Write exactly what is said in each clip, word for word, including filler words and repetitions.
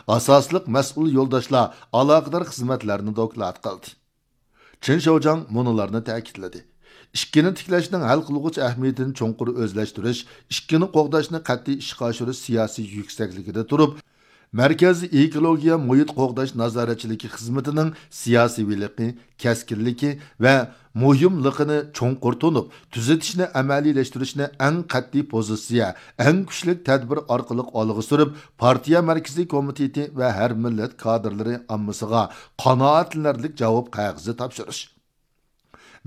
ئاساسلىق مەسئۇل يولداشلار ئالاقىدار خىزمەتلەرنى دوكلات قىلدى. چېن شياۋجياڭ مۇنۇلارنى تەكىتلىدى: ئىككىنى تىكلەشنىڭ ھەل قىلغۇچ ئەھمىيىتىنى چوڭقۇر ئۆزلەشتۈرۈش، ئىككىنى قوغداشنى قەتئىي ئىشقا ئاشۇرۇش سىياسىي يۈكسەكلىكىدە تۇرۇپ، مەركەز ئېكولوگىيە مۇھىت قوغداش نازارەتچىلىكى خىزمىتىنىڭ سىياسىيلىقى، كەسكىنلىكى ۋە مۇھىملىقىنى چوڭقۇر تونۇپ، تۈزىتىشنى ئەمەلىيلەشتۈرۈشنى ئەڭ قەتئىي پوزىتسىيە، ئەڭ كۈچلۈك تەدبىر ئارقىلىق ئالغا سۈرۈپ، پارتىيە مەركىزىي كومىتېتى ۋە ھەر مىللەت كادىرلىرى ئاممىسىغا قانائەتلىنەرلىك جاۋاب قەغىزى تاپشۇرۇش.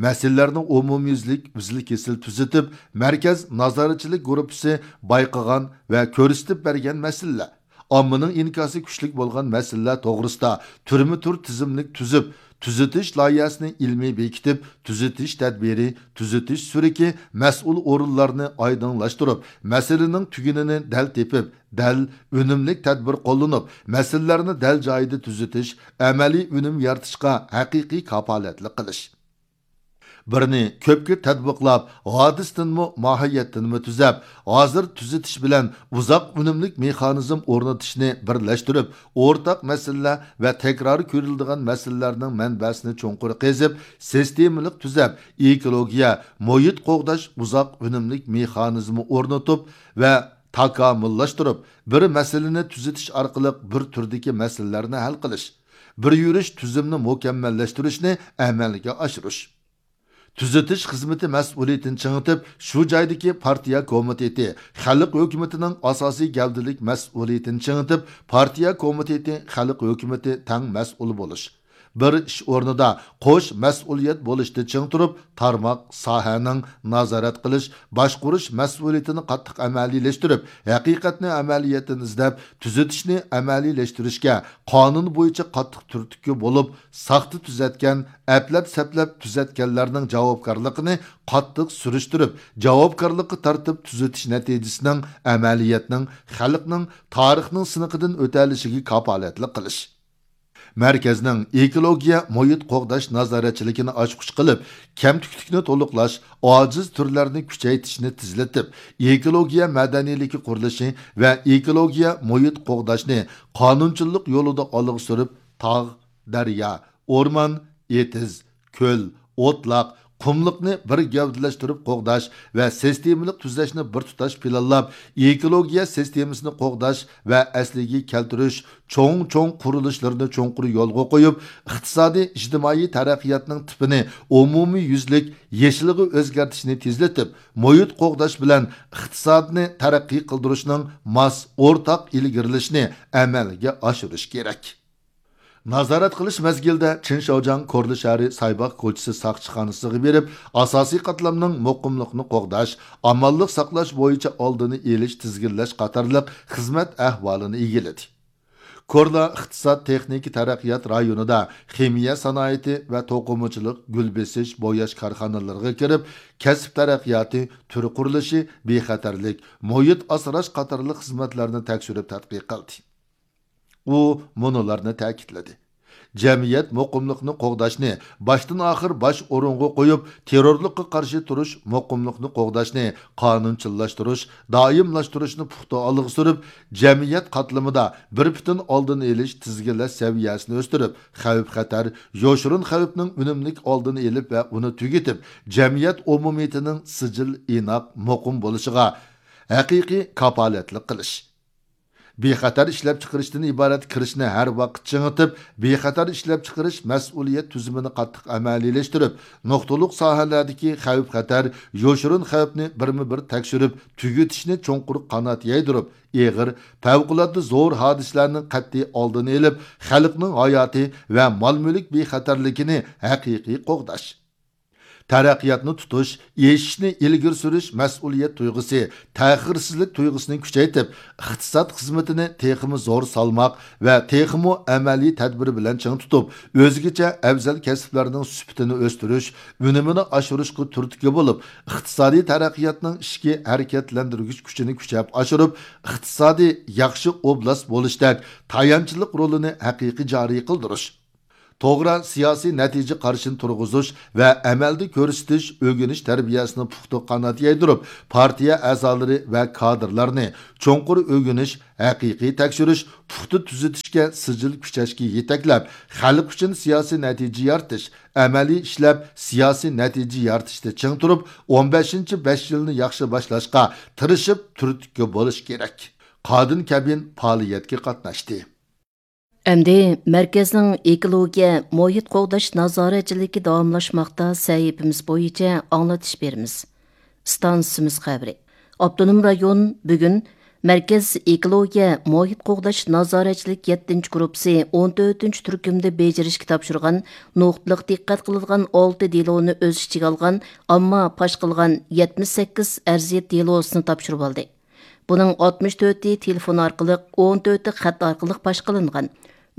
مەسىلىلەرنى ئومۇميۈزلۈك، ئۈزۈل-كېسىل تۈزىتىپ، مەركەز نازارەتچىلىك گۇرۇپپىسى بايقىغان ۋە كۆرسىتىپ بەرگەن مەسىلىلەر، ئاممىنىڭ ئىنكاسى كۈچلۈك بولغان مەسىلىلەر توغرىسىدا تۈرمە تۈر تىزىملىك تۈزۈپ، تۈزىتىش لايىھەسىنى ئىلمىي بېكىتىپ، تۈزىتىش تەدبىرى، تۈزىتىش سۈرۈكى، مەسئۇل ئورۇنلارنى ئايدىڭلاشتۇرۇپ، مەسىلىنىڭ تۈگۈنىنى دەل تېپىپ، دەل، ئۈنۈملۈك تەدبىر قوللىنىپ، مەسىلىلەرنى دەل جايىدا تۈزىتىش، ئەمەلىي ئۈنۈم يارىتىشقا ھەقىقىي كاپالەتلىك قىلىش. بىرنى كۆپكە تەتبىقلاپ، ھادىسىدىنمۇ، ماھىيەتتىنمۇ تۈزەپ، ھازىر تۈزىتىش بىلەن ئۇزاق ئۈنۈملۈك مېخانىزم ئورنىتىشنى بىرلەشتۈرۈپ، ئورتاق مەسىلىلەر ۋە تەكرار كۆرۈلىدىغان مەسىلىلەرنىڭ مەنبەسىنى چوڭقۇر قېزىپ، سىستېمىلىق تۈزەپ، ئېكولوگىيە، مۇھىت قوغداش ئۇزاق ئۈنۈملۈك مېخانىزمى ئورنىتىپ ۋە تاكامۇللاشتۇرۇپ، بىر مەسىلىنى تۈزىتىش ئارقىلىق بىر تۈردىكى مەسىلىلەرنى ھەل قىلىش، بىر يۈرۈش تۈزۈمنى مۇكەممەللەشتۈرۈشنى ئەمەلگە ئاشۇرۇش. تۈزىتىش خىزمىتى مەسئۇلىيىتىنى چىڭىتىپ، شۇ جايدىكى پارتىيە كومىتېتى، خەلق ھۆكۈمىتىنىڭ ئاساسىي گەۋدىلىك مەسئۇلىيىتىنى چىڭىتىپ، پارتىيە كومىتېتى، خەلق ھۆكۈمىتى تەڭ مەسئۇل بولۇش. بىر ئىش ئورنىدا قوش مەسئۇلىيەت بولۇشتا چىڭ تۇرۇپ، تارماق، ساھەنىڭ نازارەت قىلىش، باشقۇرۇش مەسئۇلىيىتىنى قاتتىق ئەمەلىيلەشتۈرۈپ، ھەقىقەتنى ئەمەلىيەتتىن ئىزدەپ، تۈزىتىشنى ئەمەلىيلەشتۈرۈشكە قانۇن بويىچە قاتتىق تۈرتكە بولۇپ، ساختا تۈزەتكەن، ئەپلەپ-سەپلەپ تۈزەتكەنلەرنىڭ جاۋابكارلىقىنى قاتتىق سۈرۈشتۈرۈپ، جاۋابكارلىققا تارتىپ تۈزىتىش نەتىجىسىنىڭ ئەمەلىيەتنىڭ، خەلقنىڭ، تارىخنىڭ سىنىقىدىن ئۆتەلىشىگە كاپالەتلىك قىلىش. مەركەزنىڭ ئېكولوگىيە مۇھىت قوغداش نازارەتچىلىكىنى ئاچقۇچ قىلىپ، كەمتۈكلۈكنى تولۇقلاش، ئاجىز تۈرلەرنى كۈچەيتىشنى تېزلىتىپ، ئېكولوگىيە مەدەنىيلىكى قۇرۇلۇشى ۋە ئېكولوگىيە مۇھىت قوغداشنى قانۇنچىللىق يولىدا ئالغا سۈرۈپ، تاغ، دەريا، ئورمان، ئېتىز، كۆل، ئوتلاق، قۇملۇقنى بىر گەۋدىلەشتۈرۈپ قوغداش ۋە سىستېمىلىق تۈزەشنى بىر تۇتاش پىلانلاپ، ئېكولوگىيە سىستېمىسىنى قوغداش ۋە ئەسلىگە كەلتۈرۈش چوڭ-چوڭ قۇرۇلۇشلىرىنى چوڭقۇر يولغا قويۇپ، ئىقتىسادىي، ئىجتىمائىي تەرەققىياتنىڭ تىپىنى ئومۇميۈزلۈك يېشىلغا ئۆزگەرتىشنى تېزلىتىپ، مۇھىت قوغداش بىلەن ئىقتىسادنى تەرەققىي قىلدۇرۇشنىڭ ماس ئورتاق ئىلگىرىلىشىنى ئەمەلگە ئاشۇرۇش كېرەك. نازارەت قىلىش مەزگىلىدە چېن شياۋجياڭ كورلا شەھىرى سايباغ كوچىسى ساقچىخانىسىغا بېرىپ، ئاساسىي قاتلامنىڭ مۇقىملىقنى قوغداش، ئامانلىق ساقلاش بويىچە ئالدىنى ئېلىش، تىزگىنلەش قاتارلىق خىزمەت ئەھۋالىنى ئىگىلىدى. كورلا ئىقتىساد تېخنىكا تەرەققىيات رايونىدا خىمىيە سانائىتى ۋە توقۇمىچىلىق، گۈل بېسىش، بوياش كارخانىلىرىغا كىرىپ، كەسىپ تەرەققىياتى، تۈر قۇرۇلۇشى، بىخەتەرلىك، مۇھىت ئاسراش قاتارلىق خىزمەتلەرنى تەكشۈرۈپ تەتقىق قىلدى. ئۇ مۇنۇلارنى تەكىتلىدى: جەمئىيەت مۇقىملىقنى قوغداشنى باشتىن ئاخىر باش ئورۇنغا قويۇپ، تېررورلۇققا قارشى تۇرۇش، مۇقىملىقنى قوغداشنى قانۇنچىللاشتۇرۇش، دائىملاشتۇرۇشنى پۇختا ئالغا سۈرۈپ، جەمئىيەت قاتلىمىدا بىر پۈتۈن ئالدىنى ئېلىش، تىزگىنلەش سەۋىيەسىنى ئۆستۈرۈپ، خەۋپ-خەتەر، يوشۇرۇن خەۋپنىڭ ئۈنۈملۈك ئالدىنى ئېلىپ ۋە ئۇنى تۈگىتىپ، جەمئىيەت ئومۇمىيىتىنىڭ سىجىل، ئىناق، مۇقىم بولۇشىغا ھەقىقىي كاپالەتلىك قىلىش. بىخەتەر ئىشلەپچىقىرىشتىن ئىبارەت كىرىشنى ھەر ۋاقىت چىڭىتىپ، بىخەتەر ئىشلەپچىقىرىش مەسئۇلىيەت تۈزۈمىنى قاتتىق ئەمەلىيلەشتۈرۈپ، نۇقتىلىق ساھەلەردىكى خەۋپ-خەتەر، يوشۇرۇن خەۋپنى بىرمۇ بىر تەكشۈرۈپ، تۈگىتىشنى چوڭقۇر قانات يايدۇرۇپ، ئېغىر، پەۋقۇلئاددە زور ھادىسىلەرنىڭ قەتئىي ئالدىنى ئېلىپ، خەلقنىڭ ھاياتى ۋە مال-مۈلۈك بىخەتەرلىكىنى ھەقىقىي قوغداش. تەرەققىياتنى تۇتۇش، ئېشىشنى ئىلگىرى سۈرۈش مەسئۇلىيەت تۇيغۇسى، تەخىرسىزلىك تۇيغۇسىنى كۈچەيتىپ، ئىقتىساد خىزمىتىنى تېخىمۇ زور سالماق ۋە تېخىمۇ ئەمەلىي تەدبىر بىلەن چىڭ تۇتۇپ، ئۆزگىچە ئەۋزەل كەسىپلەرنىڭ سۈپىتىنى ئۆستۈرۈش، ئۈنۈمىنى ئاشۇرۇشقا تۈرتكە بولۇپ، ئىقتىسادىي تەرەققىياتنىڭ ئىچكى ھەرىكەتلەندۈرگۈچ كۈچىنى كۈچەپ ئاشۇرۇپ، ئىقتىسادىي ياخشى ئوبلاست بولۇشتەك تايانچلىق رولىنى ھەقىقىي جارى قىلدۇرۇش. توغرا سىياسىي نەتىجە قارىشىنى تۇرغۇزۇش ۋە ئەمەلدە كۆرسىتىش، ئۆگىنىش تەربىيەسىنى پۇختا قانات يايدۇرۇپ، پارتىيە ئەزالىرى ۋە كادىرلارنى چوڭقۇر ئۆگىنىش، ھەقىقىي تەكشۈرۈش، پۇختا تۈزىتىشكە سىجىل كۈچەشكە يېتەكلەپ، خەلق ئۈچۈن سىياسىي نەتىجە يارىتىش، ئەمەلىي ئىشلەپ سىياسىي نەتىجە يارىتىشتا چىڭ تۇرۇپ، ئون بەشىنچى بەش يىلنى ياخشى باشلاشقا تىرىشىپ، تۈرتكە بولۇش كېرەك. قادىن كەبىن پائالىيەتكە قاتناشتى. ئەمدى مەركەزنىڭ ئېكولوگىيە، مۇھىت قوغداش نازارەتچىلىكى داۋاملاشماقتا سەھىپىمىز بويىچە ئاڭلىتىش بېرىمىز. ئىستانسىمىز خەۋىرى. ئاپتونوم رايون بۈگۈن مەركەز ئېكولوگىيە، مۇھىت قوغداش نازارەتچىلىك يەتتىنچى گۇرۇپپىسى ئون تۆتىنچى تۈركۈمدە بېجىرىشكە تاپشۇرغان نۇقتىلىق دىققەت قىلىدىغان ئالتە دېلونى ئۆز ئىچىگە ئالغان ئامما پاش قىلغان يەتمىش سەككىز ئەرزىيەت دېلوسىنى تاپشۇرۇۋالدى. بۇنىڭ ئاتمىش تۆتى تېلېفون ئارقىلىق، ئون تۆتى خەت ئارقىلىق پاش قىلىنغان.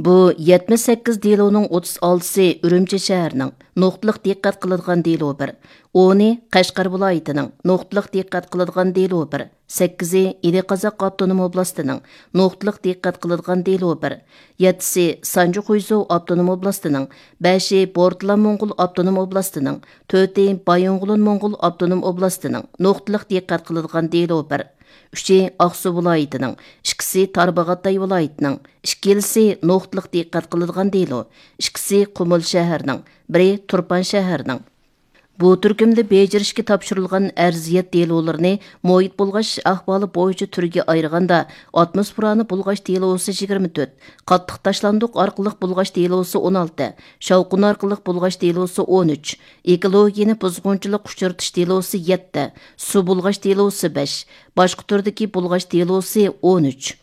بۇ يەتمىش سەككىز دېلونىڭ ئوتتۇز ئالتىسى ئۈرۈمچى شەھىرىنىڭ، نۇقتىلىق دىققەت قىلىدىغان دېلو بىر، ئونى قەشقەر ۋىلايىتىنىڭ، نۇقتىلىق دىققەت قىلىدىغان دېلو بىر، سەككىزى ئىلى قازاق ئاپتونوم ئوبلاستىنىڭ، نۇقتىلىق دىققەت قىلىدىغان دېلو بىر، يەتتىسى سانجى خۇيزۇ ئاپتونوم ئوبلاستىنىڭ، بەشى بورتالا موڭغۇل ئاپتونوم ئوبلاستىنىڭ، تۆتى بايىنغولىن موڭغۇل ئاپتونوم ئوبلاستىنىڭ، نۇقتىلىق دىققەت قىلىدىغان دېلو بىر، ئۈچى ئاقسۇ ۋىلايىتىنىڭ، ئىككىسى تارباغاتاي ۋىلايىتىنىڭ، ئىككىلىسى نۇقتىلىق دىققەت قىلىدىغان دېلو، ئىككىسى قۇمۇل شەھىرىنىڭ، بىرى تۇرپان شەھىرىنىڭ. بۇ تۈركۈمدە بېجىرىشكە تاپشۇرۇلغان ئەرزىيەت دېلولىرىنى مۇھىت بۇلغاش ئەھۋالى بويىچە تۈرگە ئايرىغاندا، ئاتموسفېرانى بۇلغاش دېلوسى يىگىرمە تۆت، قاتتىق تاشلاندۇق ئارقىلىق بۇلغاش دېلوسى ئون ئالتە، شاۋقۇن ئارقىلىق بۇلغاش دېلوسى ئون ئۈچ، ئېكولوگىيەنى بۇزغۇنچىلىق ئۇچرىتىش دېلوسى يەتتە، سۇ بۇلغاش دېلوسى بەش، باشقا تۈردىكى بۇلغاش دېلوسى ئون ئۈچ.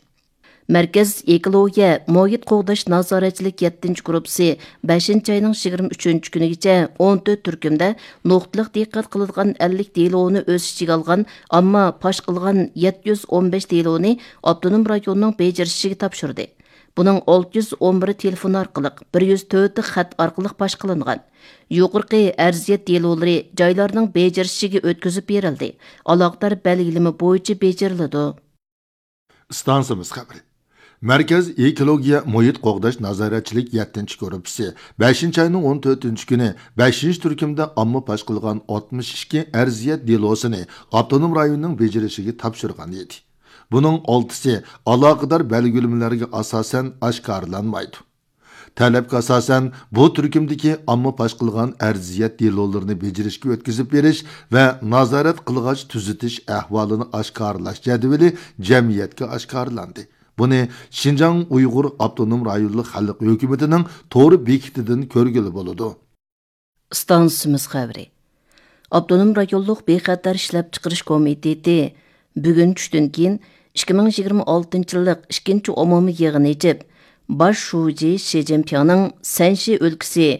مەركەز ئېكولوگىيە، مۇھىت قوغداش نازارەتچىلىك يەتتىنچى گۇرۇپپىسى بەشىنچى ئاينىڭ يىگىرمە ئۈچىنچى كۈنىگىچە ئون تۆت تۈركۈمدە نۇقتىلىق دىققەت قىلىدىغان ئەللىك دېلونى ئۆز ئىچىگە ئالغان، ئامما پاش قىلغان يەتتە يۈز ئون بەش دېلونى ئاپتونوم رايوننىڭ بېجىرىشىگە تاپشۇردى. بۇنىڭ ئالتە يۈز ئون بىرى تېلېفون ئارقىلىق، بىر يۈز تۆتى خەت ئارقىلىق پاش قىلىنغان. يۇقىرىقى ئەرزىيەت دېلولىرى جايلارنىڭ بېجىرىشىگە ئۆتكۈزۈپ بېرىلدى. ئالاقىدار بەلگىلىمە بويىچە بېجىرىلىدۇ. ئىستانسىمىز خەۋىرى. مەركەز ئېكولوگىيە، مۇھىت قوغداش نازارەتچىلىك يەتتىنچى گۇرۇپپىسى بەشىنچى ئاينىڭ ئون تۆتىنچى كۈنى بەشىنچى تۈركۈمدە ئامما پاش قىلغان ئاتمىش ئىككى ئەرزىيەت دېلوسىنى ئاپتونوم رايوننىڭ بېجىرىشىگە تاپشۇرغان ئىدى. بۇنىڭ ئالتىسى ئالاقىدار بەلگىلىمىلەرگە ئاساسەن ئاشكارىلانمايدۇ. تەلەپكە ئاساسەن، بۇ تۈركۈمدىكى ئامما پاش قىلغان ئەرزىيەت دېلولىرىنى بېجىرىشكە ئۆتكۈزۈپ بېرىش ۋە نازارەت قىلغاچ تۈزىتىش ئەھۋالىنى ئاشكارىلاش جەدۋىلى جەمئىيەتكە ئاشكارىلاندى. بۇنى شىنجاڭ ئۇيغۇر ئاپتونوم رايونلۇق خەلق ھۆكۈمىتىنىڭ تور بېكىتىدىن كۆرگىلى بولىدۇ. ئىستانسىمىز خەۋىرى. ئاپتونوم رايونلۇق بىخەتەر ئىشلەپچىقىرىش كومىتېتى بۈگۈن چۈشتىن كېيىن ئىككى مىڭ يىگىرمە ئالتىنچى يىللىق ئىككىنچى ئومۇمىي يىغىنى ئېچىپ، باش شۇجى شى جىنپىڭنىڭ سەنشى ئۆلكىسى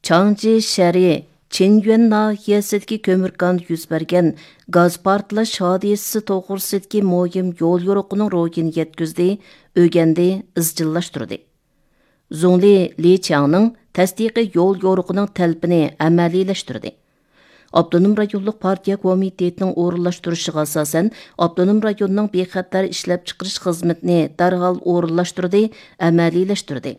چاڭجى شەھىرى چىنيۈەن ناھىيەسىدىكى كۆمۈر كاندا يۈز بەرگەن گاز پارتلاش ھادىسىسى توغرىسىدىكى مۇھىم يول يورۇقىنىڭ روھىنى يەتكۈزدى، ئۆگەندى، ئىزچىللاشتۇردى. زۇڭلى لى چياڭنىڭ تەستىقىي يول يورۇقىنىڭ تەلىپىنى ئەمەلىيلەشتۈردى. ئاپتونوم رايونلۇق پارتىيە كومىتېتىنىڭ ئورۇنلاشتۇرۇشىغا ئاساسەن، ئاپتونوم رايوننىڭ بىخەتەر ئىشلەپچىقىرىش خىزمىتىنى دەرھال ئورۇنلاشتۇردى، ئەمەلىيلەشتۈردى.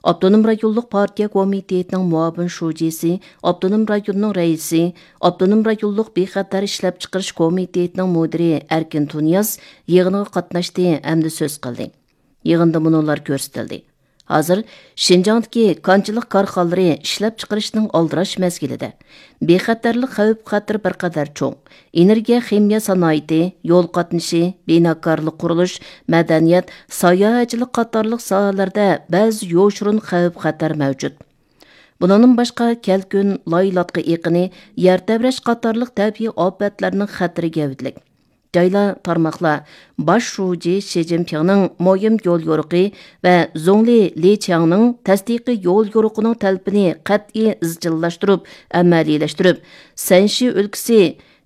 ئاپتونوم رايونلۇق پارتىيە كومىتېتىنىڭ مۇئاۋىن شۇجىسى، ئاپتونوم رايوننىڭ رەئىسى، ئاپتونوم رايونلۇق بىخەتەر ئىشلەپچىقىرىش كومىتېتىنىڭ مۇدىرى ئەركىن تۇنىياز يىغىنغا قاتناشتى ھەمدە سۆز قىلدى. يىغىندا مۇنۇلار كۆرسىتىلدى. ھازىر شىنجاڭدىكى كانچىلىق كارخانىلىرى ئىشلەپچىقىرىشنىڭ ئالدىراش مەزگىلىدە، بىخەتەرلىك خەۋپ-خەتىرى بىر قەدەر چوڭ. ئېنېرگىيە خىمىيە سانائىتى، يول قاتنىشى، بىناكارلىق، قۇرۇلۇش، مەدەنىيەت، ساياھەتچىلىك قاتارلىق ساھەلەردە بەزى يوشۇرۇن خەۋپ-خەتەر مەۋجۇت. بۇنىڭدىن باشقا، كەلكۈن، لايلاتقا ئېقىنى، يەر تەۋرەش قاتارلىق تەبىئىي ئاپەتلەرنىڭ خەتىرى گەۋدىلىك. جايلار، تارماقلار باش شۇجى شى جىنپىڭنىڭ مۇھىم يول يورۇقى ۋە زۇڭلى لى چياڭنىڭ تەستىقىي يول يورۇقىنىڭ تەلىپىنى قەتئىي ئىزچىللاشتۇرۇپ، ئەمەلىيلەشتۈرۈپ، سەنشى ئۆلكىسى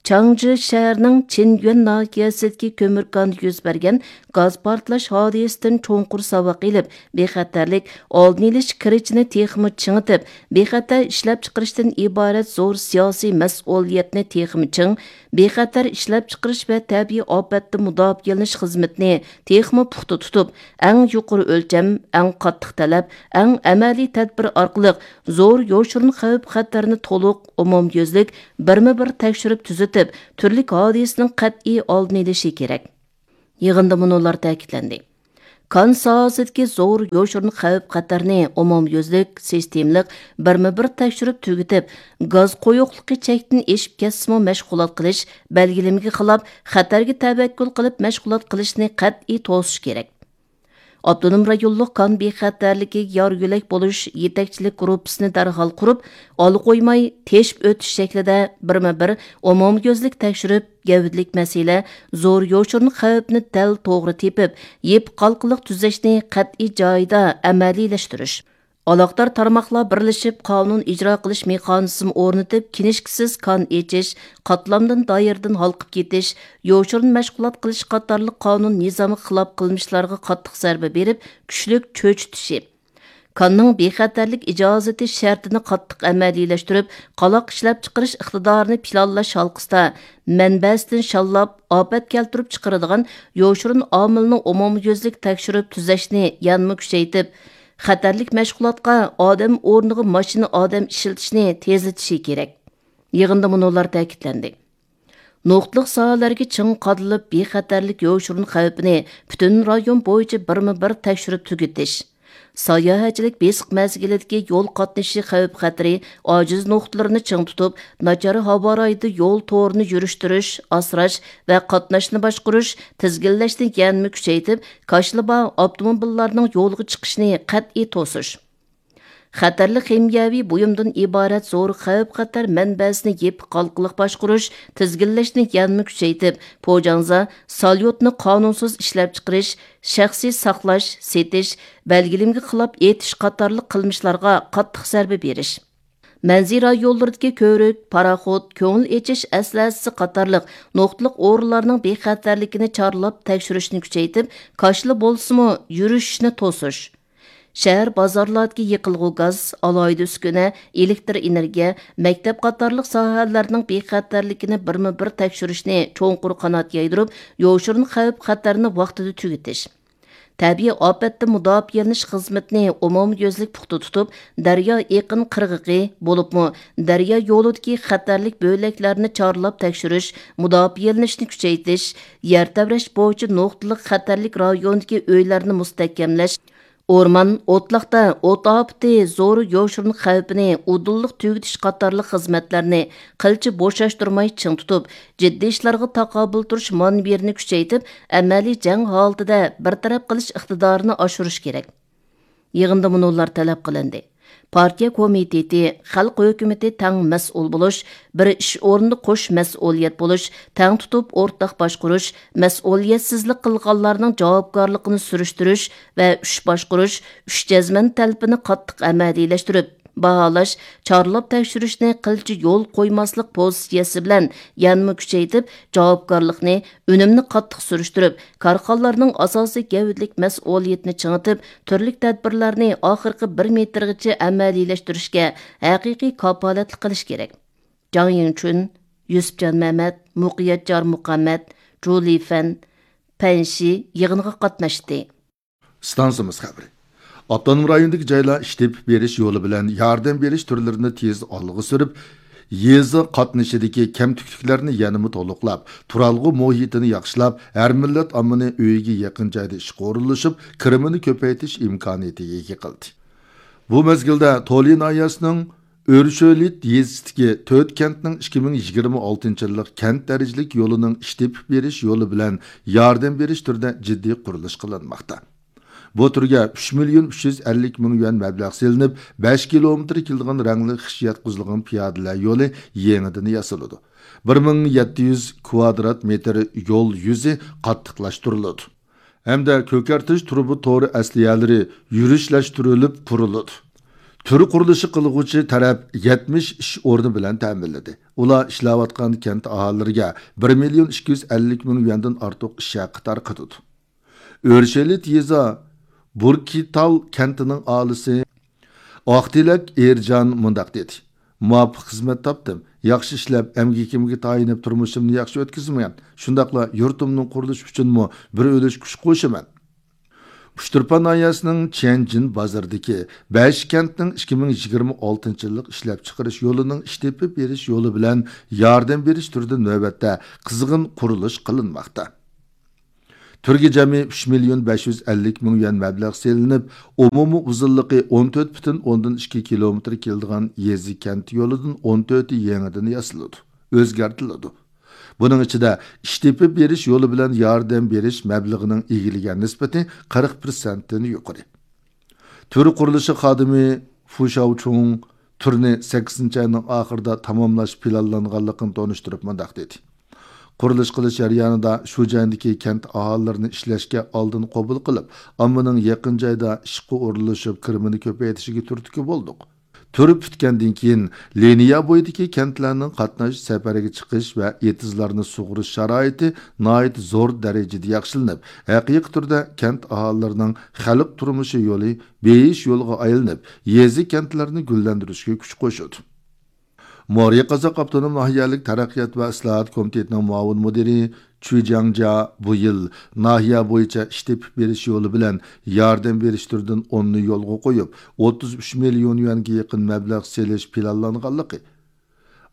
چاڭجى شەھىرىنىڭ چىنيۈەن ناھىيەسىدىكى كۆمۈر كاندا يۈز بەرگەن گاز پارتلاش ھادىسىسىدىن چوڭقۇر ساۋاق ئېلىپ، بىخەتەرلىك ئالدىنى ئېلىش كىرىچىنى تېخىمۇ چىڭىتىپ، بىخەتەر ئىشلەپچىقىرىشتىن ئىبارەت زور سىياسىي مەسئۇلىيەتنى تېخىمۇ چىڭ، بىخەتەر ئىشلەپچىقىرىش ۋە تەبىئىي ئاپەتتىن مۇداپىئەلىنىش خىزمىتىنى تېخىمۇ پۇختا تۇتۇپ، ئەڭ يۇقىرى ئۆلچەم، ئەڭ قاتتىق تەلەپ، ئەڭ ئەمەلىي تەدبىر ئارقىلىق زور يوشۇرۇن خەۋپ-خەتەرنى تولۇق، ئومۇميۈزلۈك، بىرمۇ بىر تەكشۈرۈپ تۈزىتىپ، تۈرلۈك ھادىسىنىڭ قەتئىي ئالدىنى ئېلىشى كېرەك. يىغىندا مۇنۇلار تەكىتلەندى. كان ساھەسىدىكى زور يوشۇرۇن خەۋپ-خەتەرنى ئومۇميۈزلۈك، سىستېمىلىق، بىرمۇ بىر تەكشۈرۈپ تۈگىتىپ، گاز قويۇقلۇقى چەكتىن ئېشىپ كەتسىمۇ مەشغۇلات قىلىش، بەلگىلىمىگە خىلاپ، خەتەرگە تەۋەككۈل قىلىپ مەشغۇلات قىلىشنى قەتئىي توسۇش كېرەك. ئاپتونوم رايونلۇق كان بىخەتەرلىكىگە يار يۆلەك بولۇش يېتەكچىلىك گۇرۇپپىسىنى دەرھال قۇرۇپ، ئالا قويماي تېشىپ ئۆتۈش شەكلىدە بىرمۇ بىر ئومۇميۈزلۈك تەكشۈرۈپ، گەۋدىلىك مەسىلە، زور يوشۇرۇن خەۋپنى دەل توغرا تېپىپ، يېپىق ھالقىلىق تۈزەشنى قەتئىي جايىدا ئەمەلىيلەشتۈرۈش. ئالاقىدار تارماقلار بىرلىشىپ قانۇن ئىجرا قىلىش مېخانىزمى ئورنىتىپ، كىنىشكىسىز كان ئېچىش، قاتلامدىن دائىرىدىن ھالقىپ كېتىش، يوشۇرۇن مەشغۇلات قىلىش قاتارلىق قانۇن نىزامىغا خىلاپ قىلمىشلارغا قاتتىق زەربە بېرىپ، كۈچلۈك چۆچۈتۈشى. كاننىڭ بىخەتەرلىك ئىجازىتى شەرتىنى قاتتىق ئەمەلىيلەشتۈرۈپ، قالاق ئىشلەپچىقىرىش ئىقتىدارىنى پىلانلاش ھالقىسىدا مەنبەسىدىن شاللاپ، ئاپەت كەلتۈرۈپ چىقىرىدىغان يوشۇرۇن ئامىلنى ئومۇميۈزلۈك تەكشۈرۈپ تۈزەشنى يەنىمۇ كۈچەيتىپ، خەتەرلىك مەشغۇلاتقا ئادەم ئورنىغا ماشىنا ئادەم ئىشلىتىشنى تېزلىتىشى كېرەك. يىغىندا مۇنۇلار تەكىتلەندى. نۇقتىلىق ساھەلەرگە چىڭ قادىلىپ، بىخەتەرلىك يوشۇرۇن خەۋپىنى پۈتۈن رايون بويىچە بىرمۇ بىر تەكشۈرۈپ تۈگىتىش. ساياھەتچىلىك بېسىق مەزگىلىدىكى يول قاتنىشى خەۋپ-خەتىرى ئاجىز نۇقتىلىرىنى چىڭ تۇتۇپ، ناچار ھاۋا رايىدا يول تورىنى يۈرۈشتۈرۈش، ئاسراش ۋە قاتناشنى باشقۇرۇش، تىزگىنلەشنى يەنىمۇ كۈچەيتىپ، كاشىلا بار ئاپتوموبىللارنىڭ يولغا چىقىشىنى قەتئىي توسۇش. خەتەرلىك خىمىيەۋى بۇيۇمدىن ئىبارەت زور خەۋپ-خەتەر مەنبەسىنى يېپىق ھالقىلىق باشقۇرۇش، تىزگىنلەشنى يەنىمۇ كۈچەيتىپ، پوجاڭزا، ساليۇتنى قانۇنسىز ئىشلەپچىقىرىش، شەخسىي ساقلاش، سېتىش، بەلگىلىمىگە خىلاپ ئېتىش قاتارلىق قىلمىشلارغا قاتتىق زەربە بېرىش. مەنزىرە يوللىرىدىكى كۆۋرۈك، پاراخوت، كۆڭۈل ئېچىش ئەسلىھەسى قاتارلىق نۇقتىلىق ئورۇنلارنىڭ بىخەتەرلىكىنى چارلاپ تەكشۈرۈشنى كۈچەيتىپ، كاشىلا بولسىمۇ يۈرۈشۈشنى توسۇش. شەھەر بازارلاردىكى يېقىلغۇ گاز، ئالاھىدە ئۈسكۈنە، ئېلېكتر ئېنېرگىيە، مەكتەپ قاتارلىق ساھەلەرنىڭ بىخەتەرلىكىنى بىرمۇ بىر تەكشۈرۈشنى چوڭقۇر قانات يايدۇرۇپ، يوشۇرۇن خەۋپ-خەتەرنى ۋاقتىدا تۈگىتىش. تەبىئىي ئاپەتتىن مۇداپىئەلىنىش خىزمىتىنى ئومۇميۈزلۈك پۇختا تۇتۇپ، دەريا ئېقىن قىرغىقى، بولۇپمۇ دەريا يولىدىكى خەتەرلىك بۆلەكلەرنى چارلاپ تەكشۈرۈش، مۇداپىئەلىنىشنى كۈچەيتىش، يەر تەۋرەش بويىچە نۇقتىلىق خەتەرلىك رايوندىكى ئۆيلەرنى مۇستەھكەملەش، ئورمان، ئوتلاقتا ئوت ئاپىتى زور يوشۇرۇن خەۋپىنى ئۇدۇللۇق تۈگىتىش قاتارلىق خىزمەتلەرنى قىلچە بوشاشتۇرماي چىڭ تۇتۇپ، جىددىي ئىشلارغا تاقابىل تۇرۇش مانېۋىرىنى كۈچەيتىپ، ئەمەلىي جەڭ ھالىتىدە بىر تەرەپ قىلىش ئىقتىدارىنى ئاشۇرۇش كېرەك. يىغىندا مۇنۇلار تەلەپ قىلىندى. پارتىيە كومىتېتى، خەلق ھۆكۈمىتى تەڭ مەسئۇل بولۇش، بىر ئىش ئورنىدا قوش مەسئۇلىيەت بولۇش، تەڭ تۇتۇپ ئورتاق باشقۇرۇش، مەسئۇلىيەتسىزلىك قىلغانلارنىڭ جاۋابكارلىقىنى سۈرۈشتۈرۈش ۋە ئۈچ باشقۇرۇش، ئۈچ جەزمەن تەلىپىنى قاتتىق ئەمەلىيلەشتۈرۈپ، باھالاش، چارلاپ تەكشۈرۈشنى قىلچە يول قويماسلىق پوزىتسىيەسى بىلەن يەنىمۇ كۈچەيتىپ، جاۋابكارلىقنى، ئۈنۈمنى قاتتىق سۈرۈشتۈرۈپ، كارخانىلارنىڭ ئاساسىي گەۋدىلىك مەسئۇلىيىتىنى چىڭىتىپ، تۈرلۈك تەدبىرلەرنى ئاخىرقى بىر مېتىرغىچە ئەمەلىيلەشتۈرۈشكە ھەقىقىي كاپالەتلىك قىلىش كېرەك. جاڭ يىڭچۈن، يۈسۈپجان مەمەت، مۇقىيەت جارمۇقەمەت، جۇ لىفەن، پەن شى يىغىنغا قاتناشتى. ئىستانسىمىز خەۋىرى. ئاپتونوم رايوندىكى جايلار ئىش تېپىپ بېرىش يولى بىلەن ياردەم بېرىش تۈرلىرىنى تېز ئالغا سۈرۈپ، يېزا قاتنىشىدىكى كەمتۈكلۈكلەرنى يەنىمۇ تولۇقلاپ، تۇرالغۇ مۇھىتىنى ياخشىلاپ، ھەر مىللەت ئاممىنى ئۆيىگە يېقىن جايدا ئىشقا ئورۇنلىشىپ، كىرىمىنى كۆپەيتىش ئىمكانىيىتىگە ئىگە قىلدى. بۇ مەزگىلدە تولى ناھىيەسىنىڭ ئۆرشۆلىت يېزىسىدىكى تۆت كەنتنىڭ ئىككى مىڭ يىگىرمە ئالتىنچى يىللىق كەنت دەرىجىلىك يولىنىڭ ئىش تېپىپ بېرىش يولى بىلەن ياردەم بېرىش تۈرىدە جىددىي قۇرۇلۇش قىلىنماقتا. بۇ تۈرگە ئۈچ مىليون ئۈچ يۈز ئەللىك مىڭ يۈەن مەبلەغ سېلىنىپ، بەش كىلومېتىر كېلىدىغان رەڭلىك خىش ياتقۇزۇلغان پىيادىلەر يولى يېڭىدىن ياسىلىدۇ. بىر مىڭ يەتتە يۈز كۋادرات مېتىر يول يۈزى قاتتىقلاشتۇرۇلىدۇ. ھەمدە كۆكەرتىش تۇرۇبا تورى ئەسلىھەلىرى يۈرۈشلەشتۈرۈلۈپ قۇرۇلىدۇ. تۈر قۇرۇلۇشى قىلغۇچى تەرەپ يەتمىش ئىش ئورنى بىلەن تەمىنلىدى. ئۇلار ئىشلەۋاتقان كەنت ئاھالىلىرىگە بىر مىليون ئىككى يۈز ئەللىك مىڭ يۈەندىن ئارتۇق ئىش ھەققى تارقىتىدۇ. ئۆرشەلىت يېزا بۇركىتال كەنتىنىڭ ئاھالىسى ئاقتىلەك ئېرجان مۇنداق دېدى: مۇۋاپىق خىزمەت تاپتىم. ياخشى ئىشلەپ، ئەمگىكىمگە تايىنىپ تۇرمۇشۇمنى ياخشى ئۆتكۈزىمەن. شۇنداقلا يۇرتۇمنىڭ قۇرۇلۇشى ئۈچۈنمۇ بىر ئۈلۈش كۈچ قوشىمەن. ئۇچتۇرپان ناھىيەسىنىڭ چيەنجىن بازىرىدىكى بەش كەنتنىڭ ئىككى مىڭ يىگىرمە ئالتىنچى يىللىق ئىشلەپچىقىرىش يولىنىڭ ئىش تېپىپ بېرىش يولى بىلەن ياردەم بېرىش تۈرىدە نۆۋەتتە قىزغىن قۇرۇلۇش قىلىنماقتا. تۈرگە جەمئىي ئۈچ مىليون بەش يۈز ئەللىك مىڭ يۈەن مەبلەغ سېلىنىپ، ئومۇمىي ئۇزۇنلۇقى ئون تۆت پۈتۈن ئوندىن ئىككى كىلومېتىر كېلىدىغان يېزا كەنت يولىدىن ئون تۆتى يېڭىدىن ياسىلىدۇ، ئۆزگەرتىلىدۇ. بۇنىڭ ئىچىدە ئىش تېپىپ بېرىش يولى بىلەن ياردەم بېرىش مەبلىغىنىڭ ئىگىلىگەن نىسبىتى قىرىق پىرسەنتتىن يۇقىرى. تۈر قۇرۇلۇشى خادىمى فۇ شاۋچۇڭ تۈرنى سەككىزىنچى ئاينىڭ ئاخىرىدا تاماملاش پىلانلانغانلىقىنى تونۇشتۇرۇپ مۇنداق دېدى: قۇرۇلۇش قىلىش جەريانىدا شۇ جايدىكى كەنت ئاھالىلىرىنى ئىشلەشكە ئالدىن قوبۇل قىلىپ، ئاممىنىڭ يېقىن جايدا ئىشقا ئورۇنلىشىپ، كىرىمىنى كۆپەيتىشىگە تۈرتكە بولدۇق. تۈر پۈتكەندىن كېيىن، لىنىيە بويىدىكى كەنتلەرنىڭ قاتناش، سەپەرگە چىقىش ۋە ئېتىزلارنى سۇغىرىش شارائىتى ناھايىتى زور دەرىجىدە ياخشىلىنىپ، ھەقىقىي تۈردە كەنت ئاھالىلىرىنىڭ خەلق تۇرمۇشى يولى بېيىش يولىغا ئايلىنىپ، يېزا، كەنتلەرنى گۈللەندۈرۈشكە كۈچ قوشىدۇ. مورى قازاق ئاپتونوم ناھىيەلىك تەرەققىيات ۋە ئىسلاھات كومىتېتىنىڭ مۇئاۋىن مۇدىرى چۈ جياڭجيا بۇ يىل ناھىيە بويىچە ئىش تېپىپ بېرىش يولى بىلەن ياردەم بېرىش تۈرىدىن ئوننى يولغا قويۇپ، ئوتتۇز ئۈچ مىليون يۈەنگە يېقىن مەبلەغ سېلىش پىلانلانغانلىقى،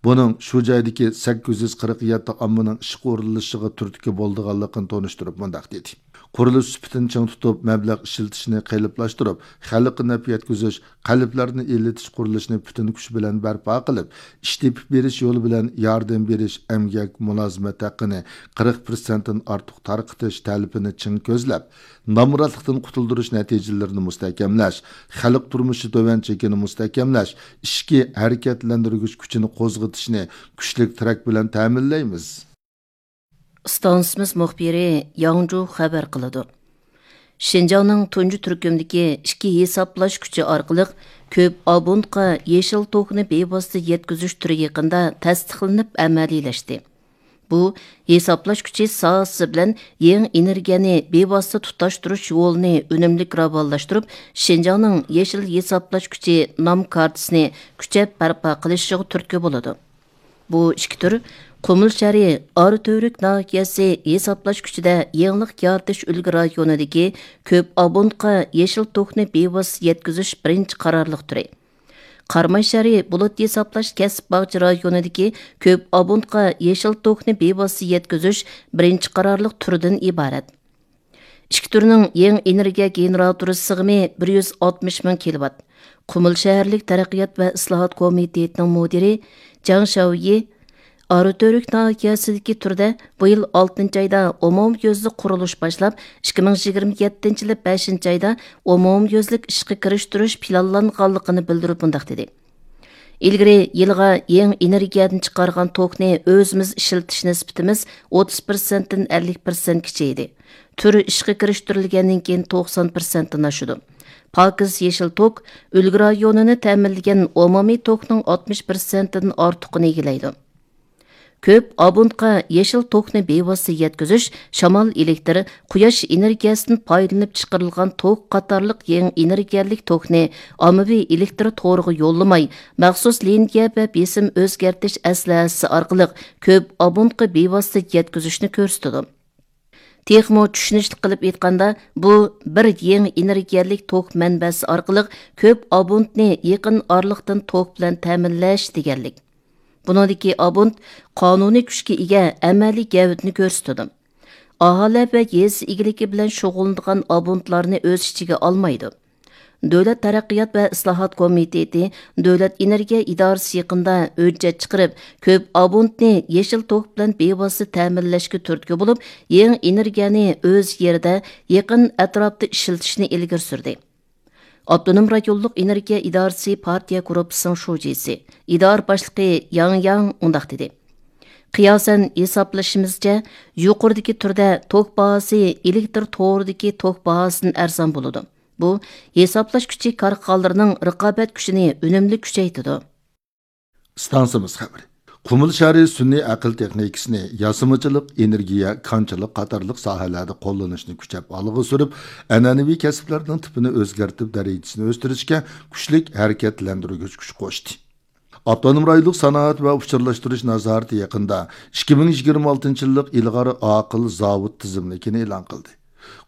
بۇنىڭ شۇ جايدىكى سەككىز يۈز قىرىق يەتتە ئاممىنىڭ ئىشقا ئورۇنلىشىشىغا تۈرتكە بولىدىغانلىقىنى تونۇشتۇرۇپ مۇنداق دېدى: قۇرۇلۇش سۈپىتىنى چىڭ تۇتۇپ، مەبلەغ ئىشلىتىشنى قېلىپلاشتۇرۇپ، خەلققە نەپ يەتكۈزۈش، قەلبلەرنى ئىللىتىش قۇرۇلۇشىنى پۈتۈن كۈچ بىلەن بەرپا قىلىپ، ئىش تېپىپ بېرىش يولى بىلەن ياردەم بېرىش، ئەمگەك مۇلازىمەت ھەققىنى قىرىق پىرسەنتتىن ئارتۇق تارقىتىش تەلىپىنى چىڭ كۆزلەپ، نامراتلىقتىن قۇتۇلدۇرۇش نەتىجىلىرىنى مۇستەھكەملەش، خەلق تۇرمۇشى تۆۋەن چېكىنى مۇستەھكەملەش، ئىچكى ھەرىكەتلەندۈرگۈچ كۈچىنى قوزغىتىشنى كۈچلۈك تىرەك بىلەن تەمىنلەيمىز. ئىستانسىمىز مۇخبىرى ياڭجۇ خەۋەر قىلىدۇ. شىنجاڭنىڭ تۇنجى تۈركۈمدىكى ئىككى ھېسابلاش كۈچى ئارقىلىق كۆپ ئابونتقا يېشىل توكنى بىۋاسىتە يەتكۈزۈش تۈرى يېقىندا تەستىقلىنىپ ئەمەلىيلەشتى. بۇ ھېسابلاش كۈچى ساھەسى بىلەن يېڭى ئېنېرگىيەنى بىۋاسىتە تۇتاشتۇرۇش يولىنى ئۈنۈملۈك راۋانلاشتۇرۇپ، شىنجاڭنىڭ يېشىل ھېسابلاش كۈچى نام كارتىسىنى كۈچەپ بەرپا قىلىشىغا تۈرتكە بولىدۇ. بۇ ئىككى تۈر قۇمۇل شەھىرى ئاراتۈرۈك ناھىيەسى ھېسابلاش كۈچىدە يېڭىلىق يارىتىش ئۈلگە رايونىدىكى كۆپ ئابونتقا يېشىل توكنى بىۋاسىتە يەتكۈزۈش بىرىنچى قارارلىق تۈرى. قاراماي شەھىرى بۇلۇت ھېسابلاش كەسىپ باغچە رايونىدىكى كۆپ ئابونتقا يېشىل توكنى بىۋاسىتە يەتكۈزۈش بىرىنچى قارارلىق تۈرىدىن ئىبارەت. ئىككى تۈرنىڭ يېڭى ئېنېرگىيە گېنېراتورى سىغىمى بىر يۈز ئاتمىش مىڭ كىلوۋات. قۇمۇل شەھەرلىك تەرەققىيات ۋە ئىسلاھات كومىتېتىنىڭ مۇدىرى جاڭ شياۋيى ئاراتۈرۈك ناھىيەسىدىكى تۈردە بۇ يىل ئالتىنچى ئايدا ئومۇميۈزلۈك قۇرۇلۇش باشلاپ، ئىككى مىڭ يىگىرمە يەتتىنچى يىلى بەشىنچى ئايدا ئومۇميۈزلۈك ئىشقا كىرىشتۈرۈش پىلانلانغانلىقىنى بىلدۈرۈپ مۇنداق دېدى: ئىلگىرى يىلىغا يېڭى ئېنېرگىيەدىن چىقارغان توكنى ئۆزىمىز ئىشلىتىش نىسبىتىمىز ئوتتۇز پىرسەنتتىن ئەللىك پىرسەنتكىچە ئىدى. تۈر ئىشقا كىرىشتۈرۈلگەندىن كېيىن توقسان پىرسەنتتىن ئاشىدۇ. پاكىز يېشىل توك ئۈلگە رايونىنى تەمىنلىگەن ئومۇمىي توكنىڭ ئاتمىش پىرسەنتتىن ئارتۇقىنى ئىگىلەيدۇ. كۆپ ئابونتقا يېشىل توكنى بىۋاسىتە يەتكۈزۈش، شامال ئېلېكتىر، قۇياش ئېنېرگىيەسىدىن پايدىلىنىپ چىقىرىلغان توك قاتارلىق يېڭى ئېنېرگىيەلىك توكنى ئاممىۋى ئېلېكتىر تورىغا يوللىماي، مەخسۇس لىنىيە ۋە بېسىم ئۆزگەرتىش ئەسلىھەسى ئارقىلىق كۆپ ئابونتقا بىۋاسىتە يەتكۈزۈشنى كۆرسىتىدۇ. تېخىمۇ چۈشىنىشلىك قىلىپ ئېيتقاندا، بۇ بىر يېڭى ئېنېرگىيەلىك توك مەنبەسى ئارقىلىق كۆپ ئابونتنى يېقىن ئارىلىقتىن توك بىلەن تەمىنلەش دېگەنلىك. بۇنىڭدىكى ئابونت قانۇنىي كۈچكە ئىگە ئەمەلىي گەۋدىنى كۆرسىتىدۇ. ئاھالە ۋە يېزا ئىگىلىكى بىلەن شۇغۇللىنىدىغان ئابونتلارنى ئۆز ئىچىگە ئالمايدۇ. دۆلەت تەرەققىيات ۋە ئىسلاھات كومىتېتى، دۆلەت ئېنېرگىيە ئىدارىسى يېقىندا ھۆججەت چىقىرىپ، كۆپ ئابونتنى يېشىل توك بىلەن بىۋاسىتە تەمىنلەشكە تۈرتكە بولۇپ، يېڭى ئېنېرگىيەنى ئۆز يېرىدە يېقىن ئەتراپتا ئىشلىتىشنى ئىلگىرى سۈردى. ئاپتونوم رايونلۇق ئېنېرگىيە ئىدارىسى پارتىيە گۇرۇپپىسىنىڭ شۇجىسى، ئىدارە باشلىقى ياڭ ياڭ مۇنداق دېدى: قىياسەن ھېسابلىشىمىزچە، يۇقىرىدىكى تۈردە توك باھاسى ئېلېكتر تورىدىكى توك باھاسىدىن ئەرزان بولىدۇ. بۇ ھېسابلاش كۈچى كارخانىلىرىنىڭ رىقابەت كۈچىنى ئۈنۈملۈك كۈچەيتىدۇ. ئىستانسىمىز خەۋىرى. قۇمۇل شەھىرى سۈنئىي ئەقىل تېخنىكىسىنى، ياسىمىچىلىق، ئېنېرگىيە، كانچىلىق قاتارلىق ساھەلەردە قوللىنىشنى كۈچەپ ئالغا سۈرۈپ، ئەنئەنىۋى كەسىپلەرنىڭ تىپىنى ئۆزگەرتىپ، دەرىجىسىنى ئۆستۈرۈشكە كۈچلۈك ھەرىكەتلەندۈرگۈچ كۈچ قوشتى. ئاپتونوم رايونلۇق سانائەت ۋە ئۇچۇرلاشتۇرۇش نازارىتى يېقىندا ئىككى مىڭ يىگىرمە ئالتىنچى يىللىق ئىلغار ئاقىل زاۋۇت تىزىملىكىنى ئېلان قىلدى.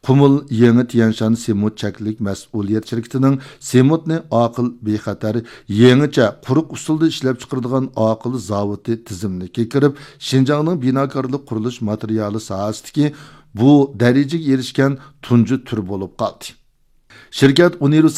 قۇمۇل يېڭى تيەنشان سېمونت چەكلىك مەسئۇلىيەت شىركىتىنىڭ سېمونتنى ئاقىل، بىخەتەر، يېڭىچە، قۇرۇق ئۇسۇلدا ئىشلەپچىقىرىدىغان ئاقىل زاۋۇتى تىزىملىكىگە كىرىپ، شىنجاڭنىڭ بىناكارلىق قۇرۇلۇش ماتېرىيالى ساھەسىدىكى بۇ دەرىجىگە ئېرىشكەن تۇنجى تۈر بولۇپ قالدى. شىركەت ئۇنىۋېرسال